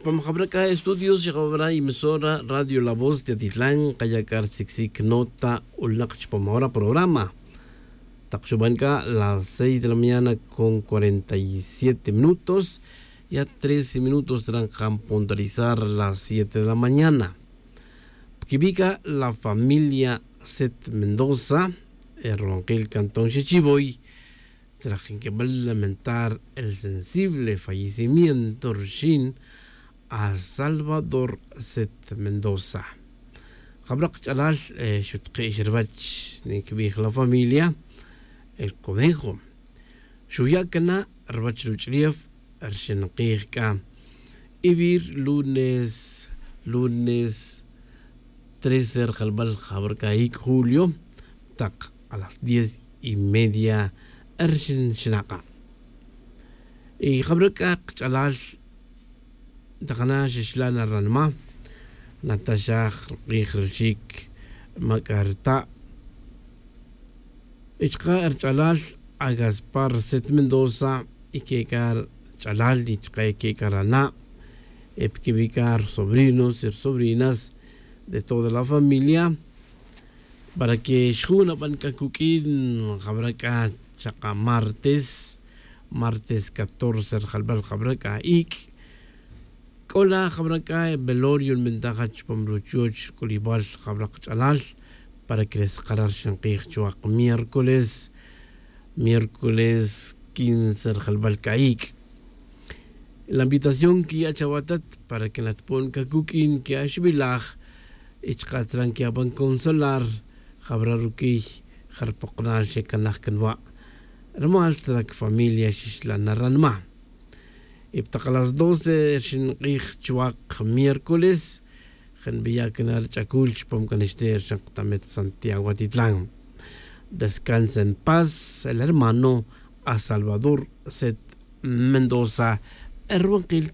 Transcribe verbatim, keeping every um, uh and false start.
Chupam jabra c'a estudios y jabra emisora radio la voz de atitlan kaya c'a rsicsik nota ulnak chupam jabra programa. Tak xuban c'a las seis de la mañana con cuarenta y siete minutos, ya trece minutos trancam puntualizar las siete de la mañana. Pquibica la familia set mendoza, el ronquil cantón xichivoy, trajinkibal lamentar el sensible fallecimiento rxin a salvador set mendoza. Jabrak ch'alal, xutkix rvach, ninkibij la familia el conejo. Xuya' cana' rvach ruch'ulef rxin kij c'a, ivir lunes lunes trece rjalbal jabra c'a ic' julio, tak a las diez y media rxin xnak'a'. Y jabra c'a kch'alal tak na xixla' na ranma', nataxaj rk'ij ralxic ma c'a rta'. Y chka' rch'alal a gaspar set mendoza, y que c'a rch'alal y chka' y que c'a rana', y pquibi' c'a rsobrinos y rsobrinas de toda la familia, para que xju' naban c'a cuq'uin jabra c'a chaka' martes, martes catorce rjalbal jabra c'a ic'. C'o la jabra c'a velorio nbintaj chupam ruchuoch rc'ulibal jabra kch'alal, para que le skara' rxin kij chuak miércoles, miércoles quince rjalbal c'a ic'. La invitación quiya' chawa tat para que natpon c'a cuq'uin quiya' xbilaj, y chka' tran quiya' pan consolar jabra ruquiy jarpoknal xecanaj canwa'. Rumal trac familia xixla' na ranma'. Y ptak a las doce rxin kij chuak miércoles, jenbiya' cana' rch'acul chupam c'a nixte' rxin ktamet santiago atitlan. Descansa en paz el hermano a salvador set mendoza, erwankil.